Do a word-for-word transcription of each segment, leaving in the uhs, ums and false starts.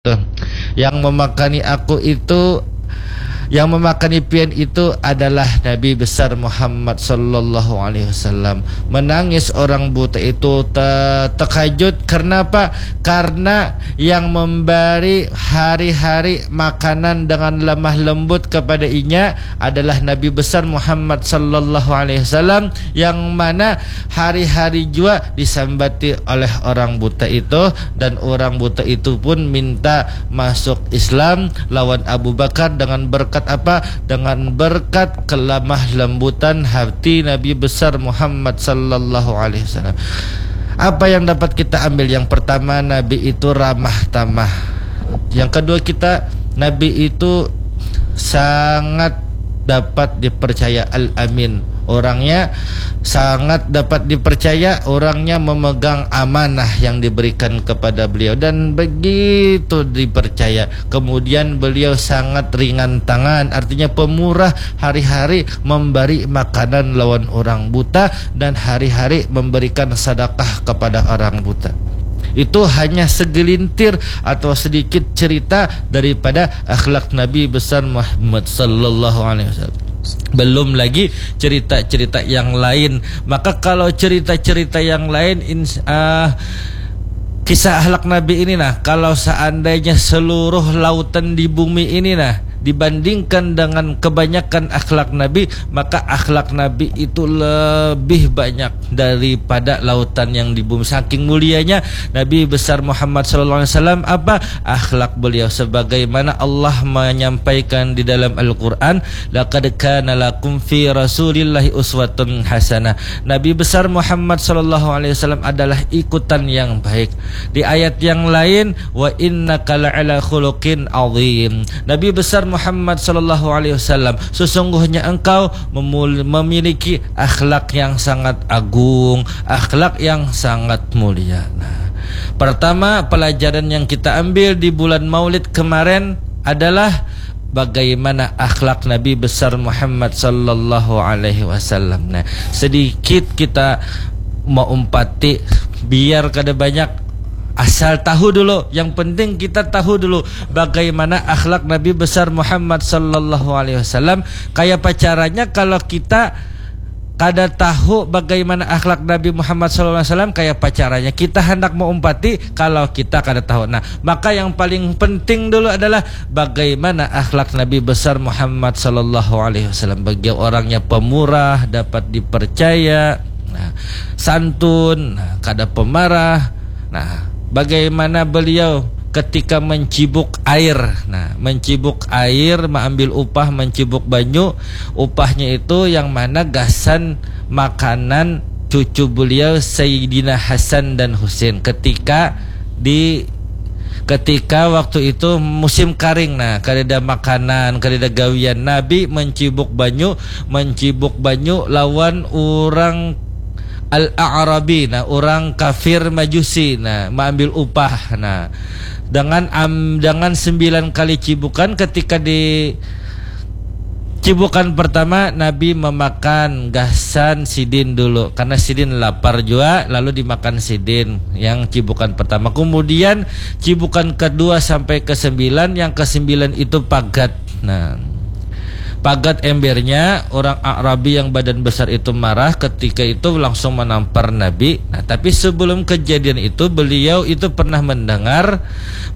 Tuh. Yang memakani aku itu, yang memakani pian itu adalah Nabi besar Muhammad sallallahu alaihi wasallam. Menangis orang buta itu te- terkejut. Karena apa? Karena yang memberi hari-hari makanan dengan lemah lembut kepada inya adalah Nabi besar Muhammad sallallahu alaihi wasallam, yang mana hari-hari jua disambati oleh orang buta itu, dan orang buta itu pun minta masuk Islam lawan Abu Bakar dengan berkat apa? Dengan berkat kelemah lembutan hati Nabi besar Muhammad sallallahu alaihi wasallam. Apa yang dapat kita ambil? Yang pertama, Nabi itu ramah tamah. Yang kedua, kita Nabi itu sangat dapat dipercaya, al-amin. Orangnya sangat dapat dipercaya, orangnya memegang amanah yang diberikan kepada beliau, dan begitu dipercaya. Kemudian beliau sangat ringan tangan, artinya pemurah, hari-hari memberi makanan lawan orang buta dan hari-hari memberikan sedekah kepada orang buta. Itu hanya segelintir atau sedikit cerita daripada akhlak Nabi besar Muhammad sallallahu alaihi wasallam. Belum lagi cerita-cerita yang lain. Maka kalau cerita-cerita yang lain, ins- ah, kisah akhlak Nabi ini, nah, kalau seandainya seluruh lautan di bumi ini, nah, dibandingkan dengan kebanyakan akhlak Nabi, maka akhlak Nabi itu lebih banyak daripada lautan yang di bumi. Saking mulianya Nabi besar Muhammad sallallahu alaihi wasallam, apa akhlak beliau? Sebagaimana Allah menyampaikan di dalam Al-Quran, "Laqad kana lakum fi Rasulillahi uswatun hasanah." Nabi besar Muhammad sallallahu alaihi wasallam adalah ikutan yang baik. Di ayat yang lain, "Wa innaka la'ala khuluqin azim." Nabi besar Muhammad sallallahu alaihi wasallam, sesungguhnya engkau memul- memiliki akhlak yang sangat agung, akhlak yang sangat mulia. Nah, pertama, pelajaran yang kita ambil di bulan Maulid kemarin adalah bagaimana akhlak Nabi besar Muhammad sallallahu alaihi wasallam. Nah, sedikit kita maumpati, biar kada banyak, asal tahu dulu. Yang penting kita tahu dulu bagaimana akhlak Nabi besar Muhammad sallallahu alaihi wasallam. Kaya apa caranya kalau kita kada tahu bagaimana akhlak Nabi Muhammad sallallahu alaihi wasallam? Kaya apa caranya kita hendak maumpati kalau kita kada tahu? Nah, maka yang paling penting dulu adalah bagaimana akhlak Nabi besar Muhammad sallallahu alaihi wasallam. Bagi orangnya pemurah, dapat dipercaya, nah, santun, nah, kada pemarah. Nah, bagaimana beliau ketika mencibuk air? Nah, mencibuk air, mengambil upah, mencibuk banyu. Upahnya itu yang mana gasan makanan cucu beliau, Sayyidina Hasan dan Husin, ketika di ketika waktu itu musim karing, nah, kadada makanan, kadada gawian. Nabi mencibuk banyu, mencibuk banyu lawan urang Al-A'rabi, nah, urang kafir Majusi, nah, maambil upah, nah, dengan am, dengan sembilan kali cibukan. Ketika di cibukan pertama, Nabi memakan gasan sidin dulu, karena sidin lapar jua, lalu dimakan sidin yang cibukan pertama. Kemudian cibukan kedua sampai ke sembilan, yang ke sembilan itu pagat. Nah, pagat embernya, orang Arabi yang badan besar itu marah, ketika itu langsung menampar Nabi. Nah, tapi sebelum kejadian itu, beliau itu pernah mendengar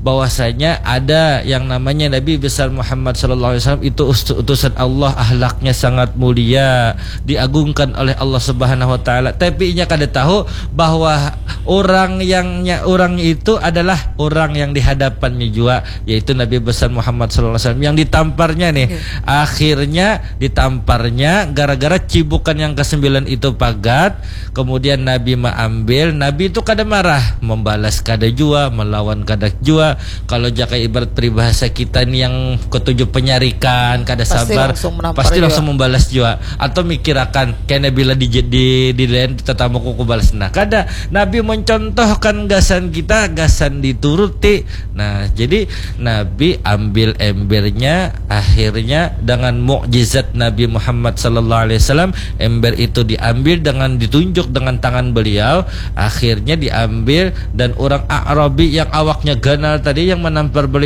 bahwasanya ada yang namanya Nabi besar Muhammad sallallahu alaihi wasallam itu us- utusan Allah, ahlaknya sangat mulia, diagungkan oleh Allah Subhanahu wa taala. Tapi inya kada tahu bahwa orang yang orang itu adalah orang yang di hadapannya jua, yaitu Nabi besar Muhammad sallallahu alaihi wasallam yang ditamparnya nih. Oke. Akhirnya ditamparnya gara-gara cibukan yang kesembilan itu pagat. Kemudian Nabi maambil, Nabi itu kada marah, membalas kada jua, melawan kada jua. Kalau jakai ibarat peribahasa kita nih yang ketujuh penyarikan, kada pasti sabar, langsung menampar pasti jua. Langsung membalas jua. Atau mikirakan, kena bila di di di lain tetamuku kubalas. Nah, kada. Nabi mencontohkan gasan kita, gasan dituruti. Nah, jadi Nabi ambil embernya, akhirnya dengan mukjizat Nabi Muhammad sallallahu alaihi wasallam, ember itu diambil dengan ditunjuk dengan tangan beliau, akhirnya diambil dan orang Arabi yang awaknya ganal tadi yang menampar beliau